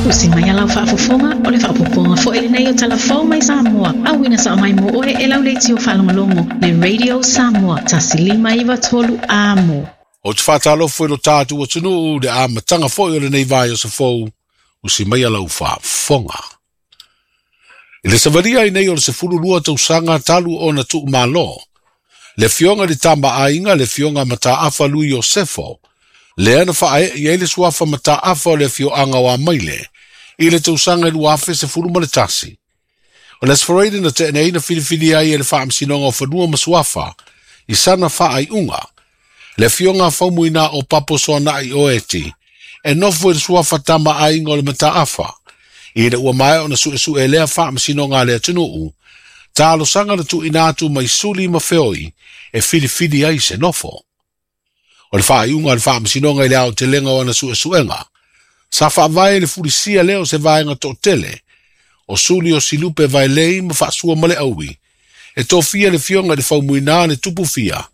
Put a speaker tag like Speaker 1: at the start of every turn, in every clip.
Speaker 1: Usi mai a lau faafofoga, o le faaopoopoga foi lenei o Tala Fou mai Samoa, auina sao mai mo oe e lau leitio faalogologo, le Radio Samoa 1593 Amo.
Speaker 2: Ou te faatalofa i lo tatou atunuu i le amataga foi o lenei vaiaso fou, usi mai a lau faafofoga. I le savalia ai nei o le 12 tausaga talu ona tuumalo, le afioga i le Tama a Aiga, le afioga Mataafa Lui Iosefo, lea na faaee i ai le suafa Mataafa o le afioaga o Amaile i le tausaga e 2011. O le Aso Faraile na tea nei na filifilia ai e le Faamasinoga o Fanua ma Suafa i sana faaiuga, le afioga Faumuina o Papo Soanai Oeti e nofo i le suafa Tama a Aiga o le Mataafa, ina ua maea ona suesue lea faamasinoga a le atunuu, talosaga na tuuina atu mai suli ma feoi e filifili ai se nofo. O le faaiuga a le faamasinoga i le aotelega o ana suesuega, sa faavae i le fulisia lea o se vaega toatele, o suli o Silupe Vaelei ma Faasua ma le Aui, e tofia le afioga i le Faumuina le Tupu Fia,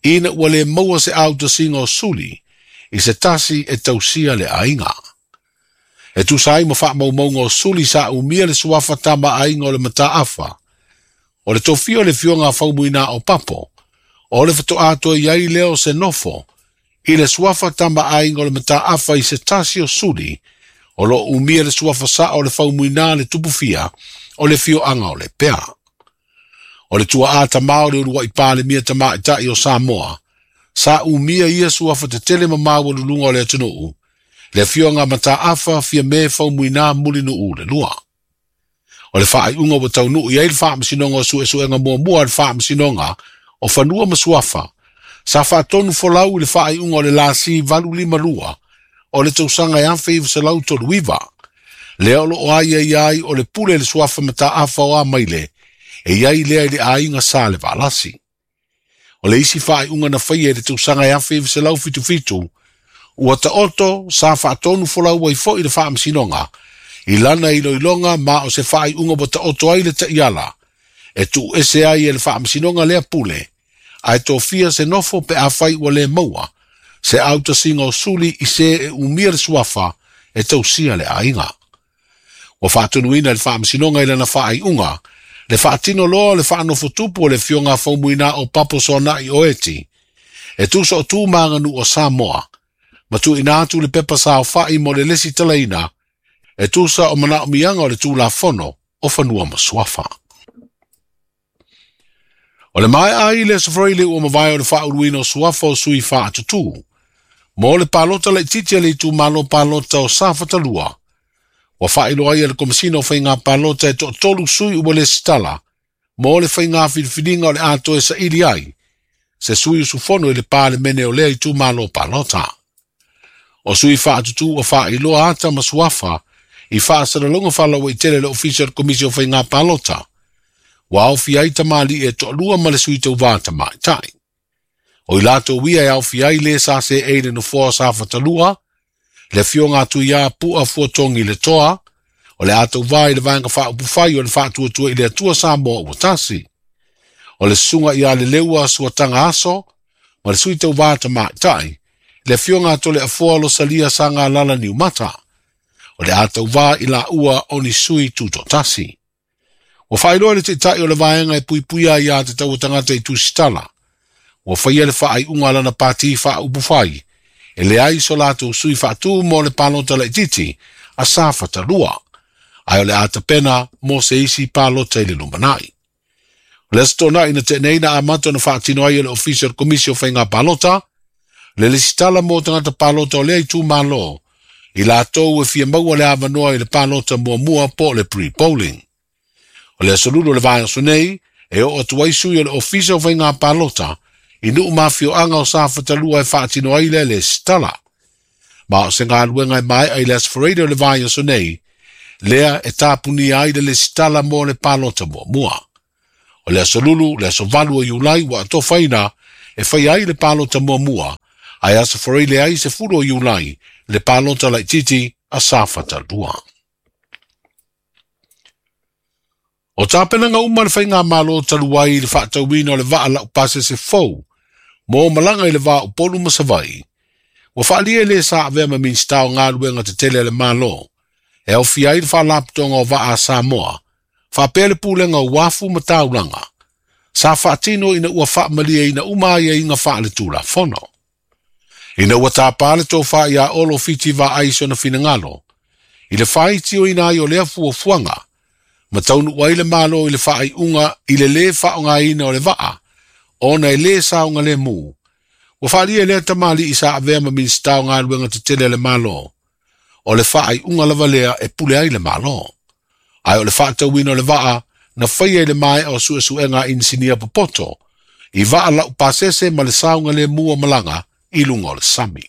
Speaker 2: ina ua le maua se autasiga o suli i se tasi e tausia le aiga. E tusa ai ma faamaumauga o suli sa umia le suafa Tama a Aiga o le Mataafa, o le tofia o le afioga a Faumuina o Papo, o le faatoa toe i ai lea o se nofo i le suafa Tama a Aiga o le Mataafa i se tasi o suli o lo o umia le suafa sao o le Faumuina le Tupu Fia o le afioaga o Lepea. O le tuaa tamā o le uluai Palemia tamaitai o Samoa, sa umia ia suafa tetele ma maualuluga o le atunuu, le afioga Mataafa Fiame Faumuina Mulinuu le lua. O le faaiuga ua taunuu i ai le faamasinoga o suesuega muamua a le Faamasinoga o Fanua ma Suafa, sa faatonu folau i le faaiuga o le lasi 852 o le tausaga e 1939, lea o lo o aiaia ai o le pule le suafa Mataafa o Amaile e i ai lea i le aiga sa le Valasi. O le isi faaiuga na faia i le tausaga e 1977, ua taoto sa faatonu folau ai foi le faamasinoga i lana iloiloga ma o se faaiuga ua taoto ai le taiala e tuuese ai e le faamasinoga lea pule, ae tofia se nofo pe afai ua le maua se autasiga o suli i se e umia le suafa e tausia le aiga. Ua faatonuina e le faamasinoga i lana faaiuga le faatino loa o le faanofotupu o le afioga Faumuina o Papo Soanai Oeti e tusa o tu ma aganuu o Samoa, ma tuuina atu le pepa saofai mo le lesitalaina e tusa o manaomiaga o le Tulafono o Fanua ma Suafa. O le maea ai le Aso Faraile ua mavae o le faauluina o suafa o sui faatutū mo le palota laitiiti a le itumalo palota o Safatalua, ua faailoa ai e le Komesina o Faiga Palota e toatolu sui ua lesitala mo le faiga filifiliga o le a toe saili ai se sui usufono i le Palemene o lea itumalo palota. O sui faatutū ua faailoa ata ma suafa i faasalalauga faalauaitele a le Ofisa o le Komisi o Faiga Palota, ua aofia ai tamalii e toalua ma le sui tauvā tamaitai. O i latou ia e aofia ai le sa seei le nofoa o Safatalua, le afioga a Tuiā Pua Fuatogi le Toa, o le a tauvā i le Vaega Faaupufai o le Faatuatua i le Atua Samoa ua Tasi. O le susuga ia Leleua Suataga Aso ma le sui tauvā tamaitai, le afioga a Toleafoa Losalia Sagalala Niumata, o le a tauvā i laua o ni sui tutoatasi. Ua faailoa e le Taitai o le Vaega e Puipuia ai Aiā Tatau a Tagata i Tusitala, ua faia le faaiuga a lana pati faaupufai e leai so latou sui faatu mo le palota laitiiti a Safata 2, ae o le a tapena mo se isi palota i le lumanai. O le Aso Toonai na tea nei na amata ona faatino ai e le Ofisa o le Komisi o Faiga Palota le lesitala mo tagata palota o lea itumalo i latou e fia maua le avanoa i le palota muamua po o le pre-polling. O le aso Lulu o le vaiaso nei e oo atu ai sui o le Ofisa o Faiga Palota i nuu ma afioaga o Safatalua e faatino ai lea lesitala. Ma o se galuega e maea i le Aso Faraile o le vaiaso nei, lea e tapunia ai le lesitala mo le palota muamua. O le Aso Lulu, le aso 8 o Iulai ua atofaina e faia ai le palota muamua, ae Aso Faraile ai 10 o Iulai le palota laitiiti a Safata 2. O tapenaga uma a le Faigamalo talu ai i le faatauina o le vaa laupasese fou mo malaga i le va o Upolu ma Savaii, ua faaalia e le sa avea ma Minisita o Galuega Tetele a le Malo, e aofia ai le Faalapotopotoga o Vaa a Samoa, faapea le Pulega o Uafu ma Taulaga, sa faatino ina ua faamalieina uma aiaiga faaletulafono. Ina ua tapa le tofa ia Olo Fiti Vaai i sona finagalo, i le faitioina ai o lea fuafuaga, ma taunuu ai le Malo i le faaiuga i le lē faaaogaina o le vaa, ona e lē saogalemu, ua faaalia e lea tamalii sa avea ma Minisita o Galuega Tetele a le Malo, o le faaiuga lava lea e pule ai le Malo. Ae o le faatauina o le vaa na faia i le maea o suesuega a inisinia popoto, i vaa laupasese ma le saogalemu o malaga i luga o le sami.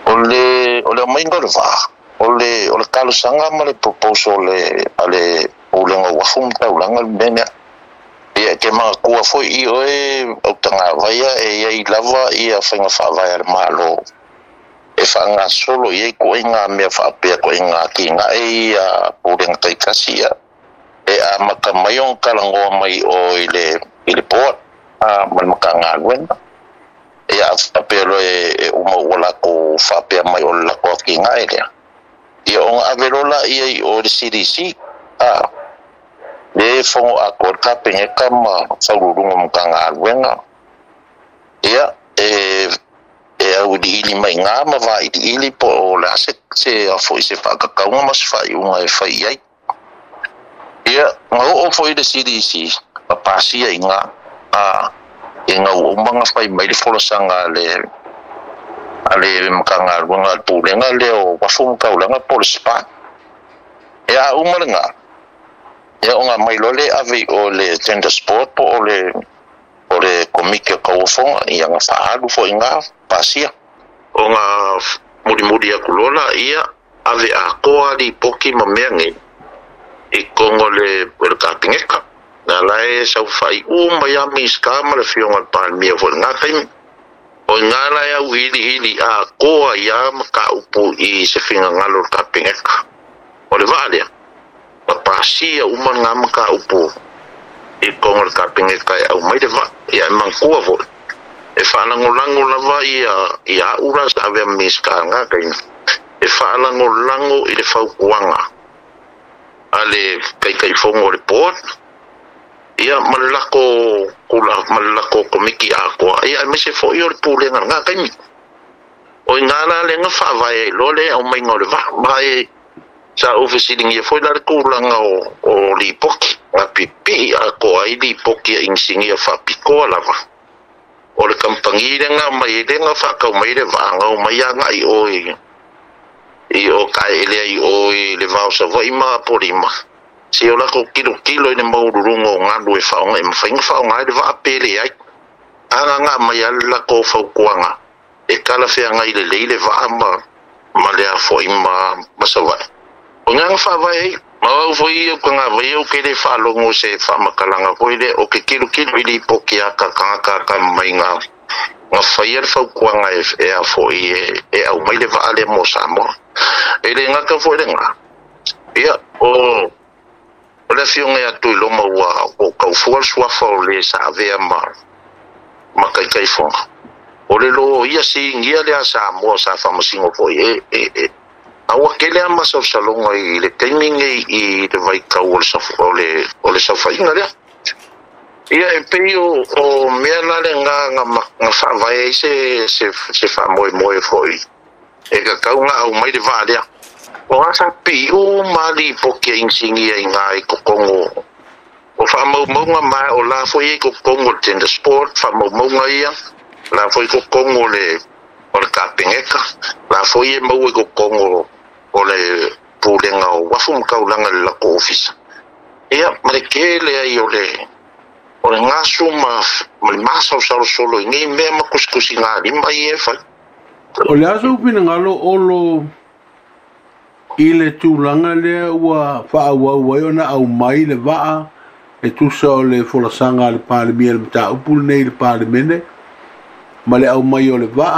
Speaker 3: O le o le aumaiga o le vaa, o le o le talosaga ma le proposal a le Pulega o Uafu ma Taulaga le mea lea. Ia e te manatua foi i oe autagavaia e i ai lava ia faiga faavae a le Malo e faagasolo i ai ituaiga mea faapea, ituaiga atinae ia a Pulega taitasi ia. E amata mai ona talanoa mai o i le i le board a ma le Matagaluega. Ia a faapea loa e uma ua latou faapea mai o le latou atinae lea, ia ona ave loa laia i o i le CDC a lea e fono atoa le Kapeneta ma Faauluuluga o Matagaluega. Ia e e auiliili mai i ina ma vailiili po o le a se se a foi se faatatauga ma se faaiuga e fai i ai. Ia, na oo foi le CDC ma pasia i ina, a ina ua uma ona fai mai le folasaga a le a le Matagaluega a le Pulega lea o Uafu ma Taulaga po o le SPA. Ia, a uma lena, ia ona aumai loa lea ave i o i le Tenders Board po o le o le Komiti o Tauofoga, ia na faaalu foi i ina, pasia. Ona mulimuli atu loa laia, ave atoa lipoti ma mea nei i totonu o le o le Kapeneta. Na la e saofai uma ai lava Minisita ma le Afioga i le Palemia foi i lena taimi. O i ina la e auiliili atoa ai lava mataupu i se finagalo o le Kapeneta. O le vaa lea, na pasia uma lena mataupu i totonu o le Kapeneta e aumai le vaa. Ia e manatua foi, e faalagolago lava ia ia au la sa avea ma Minisita i lena taimi, e faalagolago i le fautuaga a le Taitaifono o le Board, ia ma le latou tula ma le latou Komiti atoa, ia aemaise foi o le Pulega i lena taimi. O i ina la lea na faavae ai loa le aumaiga o le vaa. Ma e sa ou fesiligia foi la le tulaga o o lipoti, na pipii atoa ai lipoti a inisinia faapitoa lava o le kamupani lea na aumai ai lea na faatau mai ai le vaa, na omai agai i o i i o taeele ai i o i le va o Savaii ma Apolima, se o latou tilotilo i le maualuluga o galu e faaaoga e mafai ona faaaoga ai le vaa pe leai. A na na aumai lava le latou fautuaga e talafeagai lelei le vaa ma ma le afoai ma ma Savaii. O i ina na faavae ai. Ma o au foi ia o Tagavaia ou te le faalogo i se faamatalaga foi lea, ou te tilotilo i lipoti a ka tagata atamamai na na faia le fautuaga e e a foi e e aumai le vaa lea mo Samoa. E le gata foi lena, ia o o le afioga ia Tuiloma ua ua taufua le suafa o le sa avea ma ma Taitaifono. O le loia sinia lea a Samoa sa faamasino foi e e e a ua tele lava masalosaloga i le taimi lenei i le vaitau o le o le o le saofaiga lea. Ia e pei o o mea la lena na na faavae ai se se se faamoemoe foi e tatau ona aumai le vaa lea. O a sa pipii uma lava lipoti a inisinia i ina i totonu o faamaumauga ma o la foi e i totonu o le Tender Sport faamaumauga ia, o la foi i totonu o le o le Kapeneta, o la foi e maua i totonu o le Pulega o Uafu ma Taulaga i le latou ofisa. Ia, ma le tele ai o le o le gasu ma ma le masaosalosolo i nei mea ma tusitusigalima ia e fai.
Speaker 4: O le a sou finagalo Olo i le tulaga lea ua faaauau ai ona aumai le vaa e tusa o le folasaga a le Palemia i le mataupu lenei i le Palemene ma le aumai o le vaa?